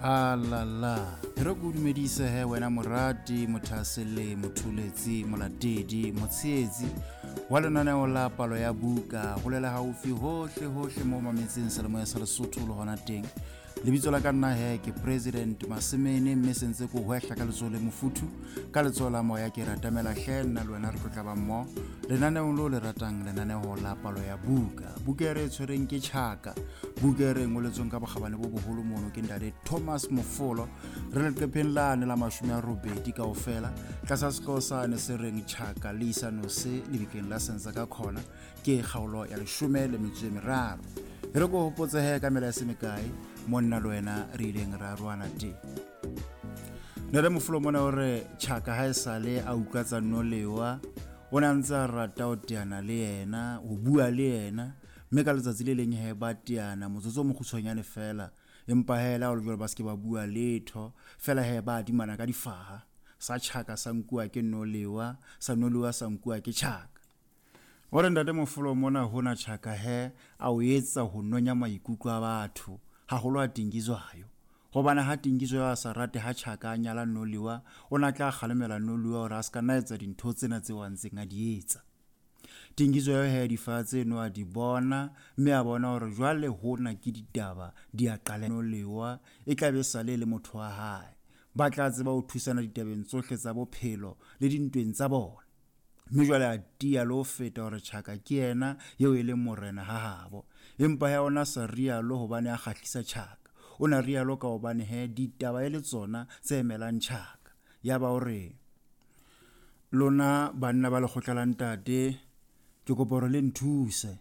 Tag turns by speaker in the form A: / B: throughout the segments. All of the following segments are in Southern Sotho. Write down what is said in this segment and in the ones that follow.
A: Alala e re ko dumedise he wena morati, mothasele, motholetsi, molatedi, motsheetsi wa lenaneo la Palo ya Buka, golela gaufi hohle hohle mo mametseng selemoya sa Lesotho le gona teng. Lebitso la ka nna he ke President Masemene, mme sentse ko hwehla ka letsoho le mofuthu, ka letsoho la moya ke ratamela hle nna le wena re tlo tla ba mmoho lenaneong lo le ratang, lenaneo la Palo ya Buka. Buka e re e tshwereng ke Tjhaka, buka e re ngoletsweng ka bokgabane bo boholo mono ke ntate Thomas Mofolo. Re leqepheng lane la 80 kaofela, tlasa sehlooho sane se reng Tjhaka le isa nose lebitleng la Senza ka khona, ke kgaolo ya 13. E re ko hopotse ka mela ya se mekae mo nna le wena re ileng ra roana teng. Ntate Mofolo mona o re Tjhaka ha e sale a utlwa tsa Nolewa, o ne a ntse a rata ho teana le yena, ho bua le yena, mme ka letsatsi le leng he ba teana motsotso o mokgutshwanyane fela, empa he le ha ho le jwalo ba se ke ba bua letho fela, he ba adimana ka difaha. Sa Tjhaka sa nkuwa ke Nolewa, sa Nolewa sa nkuwa ke Tjhaka. O re ntate Mofolo mona hona Tjhaka he a o etsa ho nonya maikutlo a batho, haholo a Tingizwayo. Hobane ha Tingizwayo a sa rate ha Tjhaka a nyala Noliwa, o na tla kgalemela Noliwa hore a se ka nna etsa dintho tsena tseo a ntseng a di etsa. Tingizwayo he difaha tseno a di bona, mme a bona hore jwale hona ke ditaba di a qala. Noliwa e tla be sale e le motho wa hae. Ba tla tseba ho thusana ditabeng tsohle tsa bophelo le dintweng tsa bona. Mme jwale a tiya le ho feta hore Tjhaka ke yena eo e leng morena ha habo. Empa he ona sa rialo hobane a kgahlisa Tjhaka. O na rialo ka hobane he ditaba e le tsona tse emelang Tjhaka. Yaba o re, Lona banna ba lekgotla la ntate, ke kopa hore le nthuse.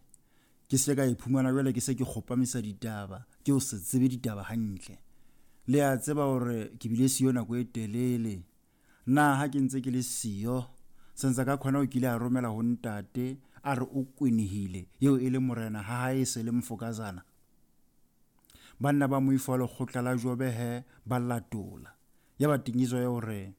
A: Ke se ka iphumana jwale ke se ke kgopamisa ditaba, ke ho se tsebe ditaba hantle. Le a tseba hore ke bile siyo nako e telele. Na ha ke ntse ke le siyo, Senzakakhona o kile a romela ho ntate a re o kwenehile, eo e le morena ha hae e se le mfokazana? Banna ba moifo wa lekgotla la Jobe he ba latola. Yaba Tingizwayo o re.